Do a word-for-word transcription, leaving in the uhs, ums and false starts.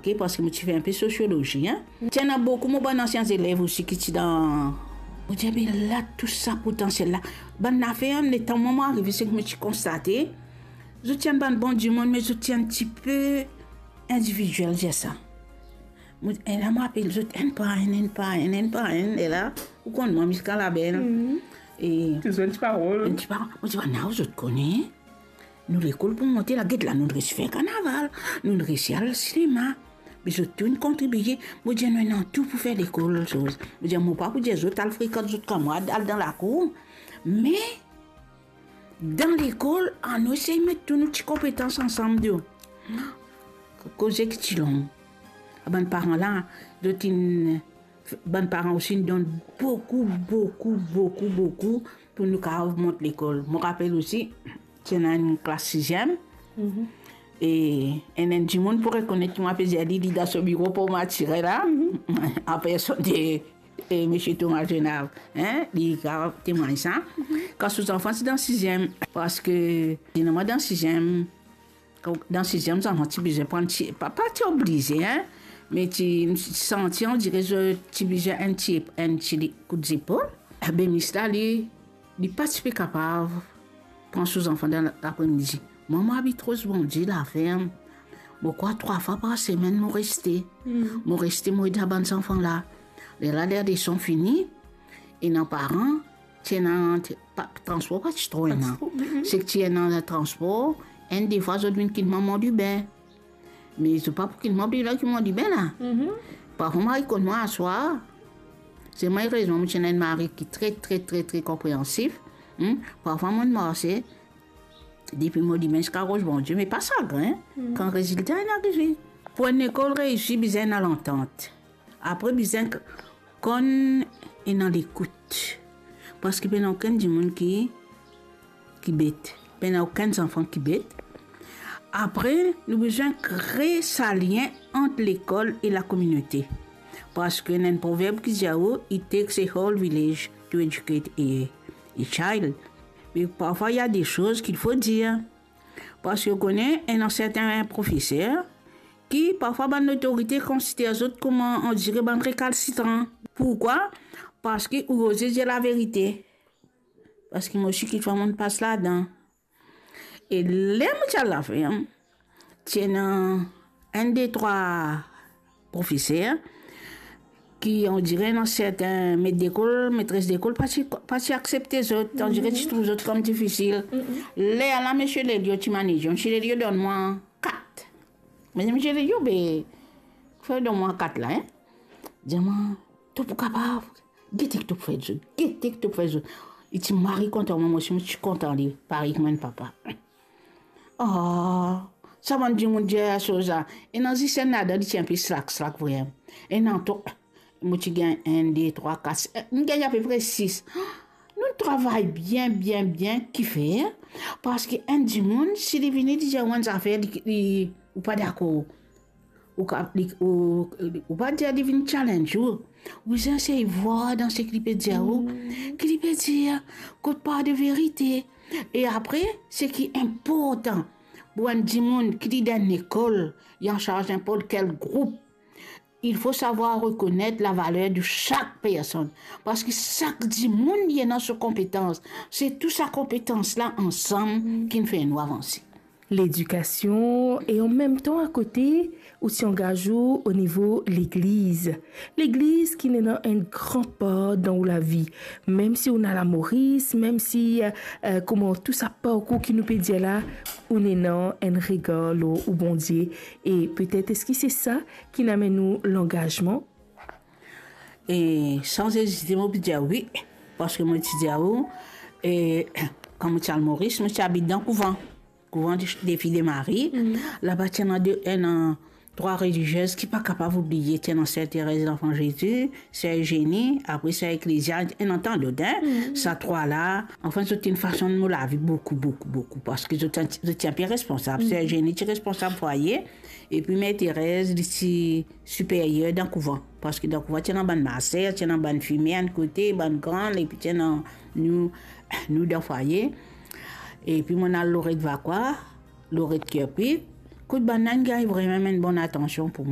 Ok, parski mo ti fer inpe sosiolozi, hein. Ti ena boukou mo bann ansien zelev osi ki ti dan, mo dir, "Me la, tou sa potansiel la." Bann lafer, letan mwa mo arive, seki mo ti konstate, zot ti enn bann bon dimoun, me zot ti enn tipe individiel, dir sa. Mo, e la, mo apel zot enn par enn, enn par enn, enn par enn, e la, ou konn mwa, ziska label. Mhm. E ti zwenn ti parol. Enn ti parol. Mo dir, "Bann la, zot kone, nou lekol pou monte la, get la, nou resi fer karnaval, nou resi al sinema." Me zot tou inn kontribie. Mo dir, "Nou ena tou pou fer lekol, soz." Mo dir, "Mo pa pou dir zot al frekant zot kanmarad, al dan lakour." Me dan lekol, anou esey met tou nou ti konpetans ansam, dir. Koze ki ti long. Bann paran la, zot inn, bann paran osi inn donn boukou, boukou, boukou, boukou pou nou kapav mont lekol. Mo rapel osi, ti ena enn klas siziem. Mhm. E enn, enn dimoun pou rekonet ki mo apel li, li dan so biro pou mo atire la. Mhm. An personn de, e, misie Thomas Genav, hein, li kapav temwagn sa. Mhm. Kan so zanfan ti dan siziem, parski, li ena mwa dan siziem, dan siziem, zanfan ti bizin pran ti, pa, pa ti oblize, hein, me ti, ti santi, on dire, zot ti bizin enn ti, enn ti li-, kout zepol. Be mis la, li, li pa ti pe kapav pran so zanfan dan lapremidi. Mwa, mo abit Roz Bondie, laferm. Mo krwar trwa fwa par semenn, mo reste. Hmm. Mo reste, mo ed sa bann zanfan la. Lerla, ler leson fini, ena paran, ti ena, ti, pa, transpor pa ti tro ena. Pa ti tro, mm, mm. Seki ti ena transpor, enn de fwa zot vinn kit mwa mont dibin. Me zot pa pou kit mwa dibin la, kit mwa dibin la. Mhm. Parfwa mo al kot mwa aswar. Selman erezman, mo ti ena enn mari ki tre, tre, tre, tre konpreansif. Hmm? Parfwa mo marse depi mont dibin ziska Roz Bondie, me pa sagrin, hmm, kan rezilta inn arive. Pou enn lekol reisi, bizin ena lantant. Apre, bizin k-, konn ena lekout. Parski pena okenn dimoun ki, ki bet. Pena okenn zanfan ki bet. Apre, nou bizin kre sa lien ant lekol e lakominote. Parski ena enn proverb ki dir ou, "It takes a whole village to educate a, a child." Me parfwa, il y a des choses qu'il faut dire. Parski ou kone, ena sertin profeser ki parfwa bann lotorite konsider zot kouma, on dire, bann rekalsitran. Pourkwa? Parski ou oze dir laverite. Parski mo osi, kikfwa, mo'nn pas ladan. E ler mo ti al laferm, ti ena enn, de, trwa profeser ki, on dire, ena sertin met lekol, metres lekol pa ti, pa ti aksepte zot, on dire, ti trouv zot kom difisil. Mm-mm. Lerla, misie Lelio ti manez, misie Lelio donn mwa kat. Me misie Lelio, be, fer donn mwa kat la, hein. Dir mwa, to pou kapav, gete ki to pou fer zot, gete ki to pou fer zot. Li ti mari kontan mwa, mo osi mo ti kontan li, parey ki mo enn papa. Ah, sa bann dimoun dir sa, ena zis enn ladan, li ti inpe slak, slak vremem. Ena twa, mo ti gagn enn, de, trwa, kat, eh, mo gagn apepre sis. Nou travay bien, bien, bien, kifer? Parski enn dimoun, si li vini, li dir ou enn zafer, li, li, ou pa dakor. Ou ka, li, ou, ou pa dir li vinn challenge ou. Ou bizin sey vwar dan seki li pe dir ou, mm, ki li pe dir, kot par de verite. E apre, seki inportan pou enn dimoun ki li dan enn lekol, li ansarz ninport kel group, il faut savoir reconnaître la valeur de chaque personne. Parski sak dimoun, li ena so konpetans. Se tou sa konpetans la ansam, mm, ki'nn fer nou avanse. Ledikasion e anmemtan akote, ou ti angaz ou o nivo legliz. Legliz ki ena enn gran par dan ou lavi. Mem si ou ena Lamoris, mem si, eh, eh, kouma tou sa parkour ki nou pe dir la, ou ena enn regar lor ou Bondie. E petet eski se sa ki'nn amenn ou langazman? E san ezite, mo pou dir wi, parski mo ti dir ou, e, kan mo ti al Moris, mo ti abit dan kouvan. Kouvan de, de Fi de Mari. Mhm. Laba ti ena de, ena trwa reliziez ki pa kapav oubliye, ti ena Ser Terez Lanfan Zezi, Ser Eugenie, apre Ser Eklezia, ena tann lot, hein. Mhm. Sa trwa la, anfin, zot inn fason mo lavi boukou, boukou, boukou, parski zot, zot ti inpe responsab. Mhm. Ser Eugenie ti responsab fwaye, epi Mer Terez, li ti siperyer dan kouvan. Parski dan kouvan, ti ena bann maser, ti ena bann fimer enn kote, bann gran, epi ti ena nou, nou dan fwaye. Epi mo'nn al Loret Vakwa, Loret Kerpik. Kot bann la inn gagn vremem enn bonn atansion pou mwa.